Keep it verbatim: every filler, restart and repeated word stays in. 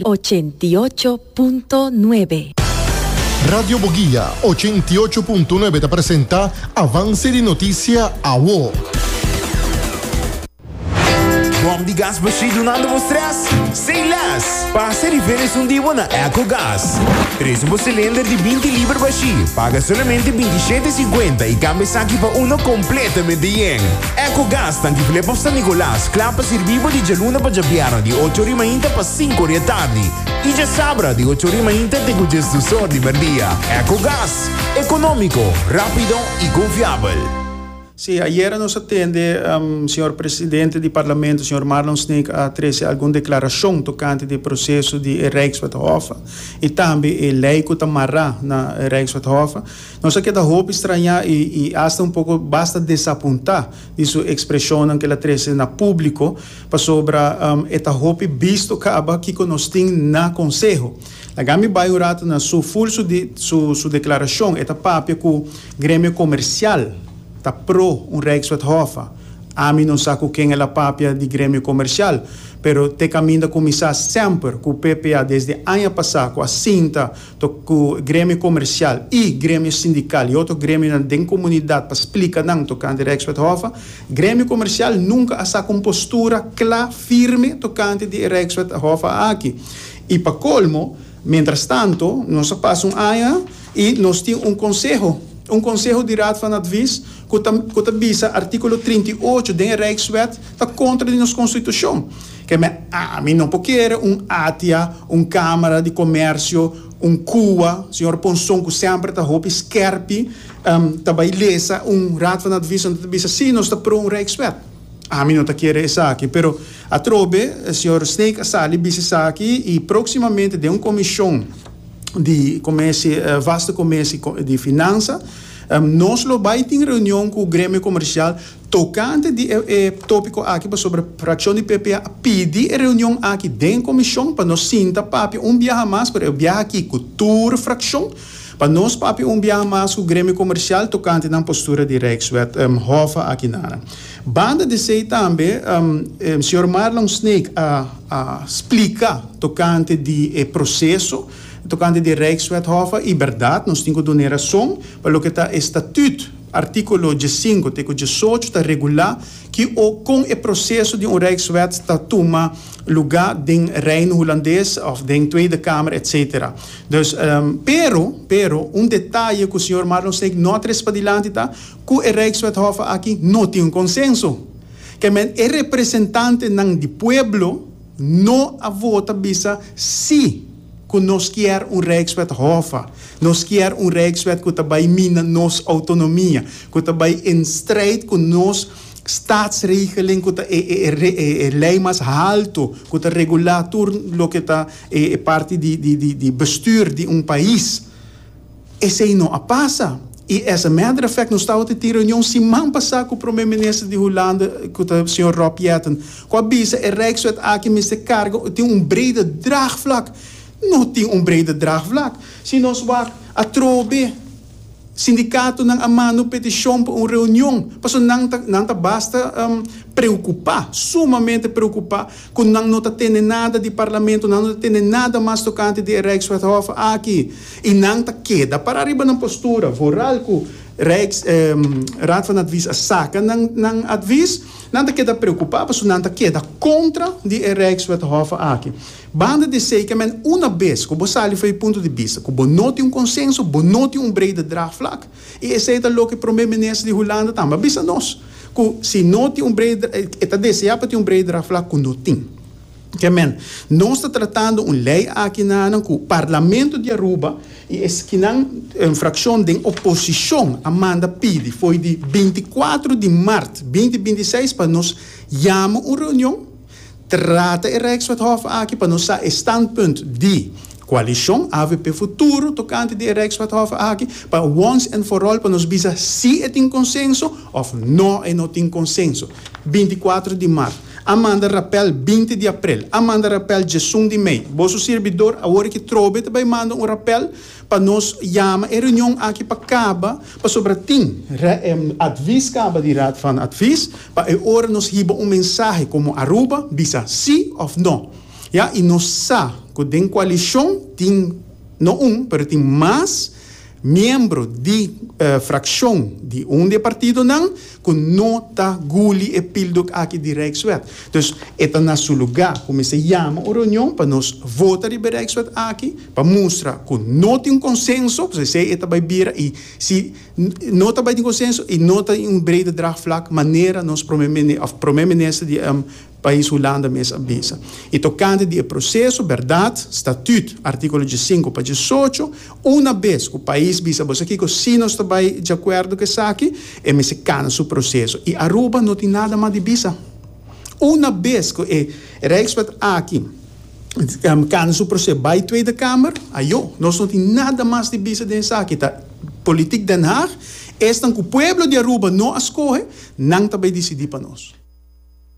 ochenta i ocho punto nuebe. Radio Boguia ochenta i ocho punto nuebe ta presenta Avance di Noticia Awo. Bom di gas bashí dunando bo stress? Say less! Pasa riba un dia na EcoGas. Trese un cylinder di binti liber bashí. Paga solamente binti shete sinkuenta i kambia esaki pa uno kompletamente yen. EcoGas, tanki Flip San Nicolas, kla pa sirbi di djaluna pa djabièrnè di ocho or di mainta pa sinku or di atardi. I djasabra di ocho or di mainta te diesdos or di mèrdia. EcoGas, ekonómiko, rápido i konfiabel. Sí, ayera nos a tende, um, señor presidente di parlamento, señor Marlon Sneek, a trese algun deklarashon tokante di proseso di Rijkswet Hoffa i tambe e lei ku ta mará na Rijkswet Hoffa. Nos a keda hopi strañá i, i hasta un poko basta desapuntá di su ekspreshon ku el a trese na públiko pasobra um, e ta hopi bisto kaba ku nos tin na konseho. Laga mi bai un ratu na su full su, di, su, su deklarashon, e ta papia ku gremio komersial ta pro un Rijkswet Hoffa. Ami no sa ku ken el a papia di gremio komersial, pero te kaminda kuminsá semper ku P P A desde aña pasá ku a sinta ku gremio komersial i gremio sindikal i otro gremio den komunidat pa splika nan tokante Rijkswet Hoffa, gremio komersial nunka a saka un postura kla, firme tokante di Rijkswet Hoffa aki. I pa kolmo, mientras tanto, nos a pasa un aña i nos tin un konseho, un konseho di Raad van Advies ku ta, ku ta bisa artíkulo trinta i ocho di Rijkswet ta kontra di nos konstitushon. Ke men, ami no por kere un ATIA, un Kámara di Komersio, un C U A, señor Ponson, ku semper ta hopi skèrpi, um, ta bai lesa un Raad van Advies ta bisa si nos ta pro un Rijkswet. Ami no ta kere esaki, pero atrobe, señor Sneek a sali bisa esaki i próksimamente den un komishon di commissie, uh, vaste commissie di finansa, um, nos lo bai tin reunion ku gremio komersial tokante di e, e, tópiko aki pasobra frakshon di P P A a pidi e reunion aki den komishon pa nos sinta papia un biaha mas, pero e biaha aki ku tur frakshon pa nos papia un biaha mas ku gremio komersial tokante nan postura di Rijkswet um, Hoffa aki nada. Banda di esei tambe, um, um, señor Marlon Sneek a, a splika tokante di e proseso tokante di Rijkswet Hoffa i bèrdat, nos tin ku duna rason pa loke ta statuut artíkulo diesinku te diesocho ta regulá ku o kon e proseso di un Rijkswet ta tuma lugá den Reino Hulandes òf den Tweede Kamer, et cetera. Dus, um, pero, pero, un detaye ku señor Marlon Sneek no a trese padilanti ta ku e Rijkswet Hoffa aki no tin un konsenso. Ke men e representantenan di pueblo no a vota bisa si ku nos ke un Rijkswet Hoffa. Nos ke un Rijkswet ku ta bai mina nos outonomia, ku ta bai in strijd ku nos staatsregeling, ku ta e, e, e, e, e lei mas haltu, ku ta regulá tur loke ta e, e parti di, di, di, di bestuur di un pais. Esei no a pasa. I as a matter of fact, nos tabata tin reunion siman pasá ku promé minister di Hulanda, ku ta señor Rob Jetten, ku a bisa e Rijkswet aki mester karga tin un brede draagvlak. No tin un brede draagvlak. Si nos wak atrobe sindikatonan a manda petishon pa un reunion, paso nan ta, nan ta basta um, preokupá, sumamente preokupá, ku nan no ta tende nada di parlamento, nan no ta tende nada mas tokante di Rijkswet Hoffa aki. I nan ta keda para riba nan postura, vooral ku Rijks, um, Raad van Advies a saka nan, nan advies, nan ta keda preokupá, paso nan ta keda kontra di Rijkswet Hoffa aki. Banda di esei, ke men una bes ku bo sali for di punto di bista, ku bo no tin un konsenso, bo no tin un brede draagvlak. I esei ta loke promé minister di Hulanda tambe a bisa nos. Ku si no tin un brede, e ta deseá pa tin un brede draagvlak ku no tin. Ke men, nos ta tratando un lei aki na ku parlamento di Aruba i esnan un frakshon di oposishon a manda pidi for di bintikuater di mart dos mil bintiseis pa nos yama un reunion, trata e Rijkswet Hoffa aki pa nos sa standpunt di koalishon A V P Futuro tokante di Rijkswet Hoffa aki pa once and for all pa nos bisa si e tin konsenso òf no e no tin konsenso. bintikuater di mart. A manda rappel binti di aprel. A manda rappel diesun di mei. Boso servidor awor ku trobe tambe manda un rappel pa nos yama e reunion aki pa kaba pasobra tin advies kaba di Raad van Advies pa e ora nos hiba un mensahe komo Aruba bisa si òf no. Ja, i nos sa ku den koalishon tin no un, pero tin mas miembro di uh, frakshon di un di partidonan ku no ta guli e pildok aki di Rijkswet. Dus e ta na su lugá ku mester yama un reunion pa nos vota riba Rijkswet aki, pa mustra ku no tin konsenso, si e ta bai bira i si no ta bai tin konsenso i no tin un brede draagvlak manera nos promé of promé minister di um, pais Hulanda mes a bisa. I tokante di proseso, berdat, Statuut, artíkulo sinku pa diesocho, un bes ku pais bisa, bo sa kiko, si nos ta bai di akuerdo ku esaki, e mester kana su proseso. I Aruba no tin nada mas di bisa. Un bes ku e Rijkswet aki um, kana su proseso bai Tweede Kamer, ayo, nos no tin nada mas di bisa den esaki, ta politiek Den Haag, esnan ku pueblo di Aruba no a skohe, nan ta bai disidí pa nos.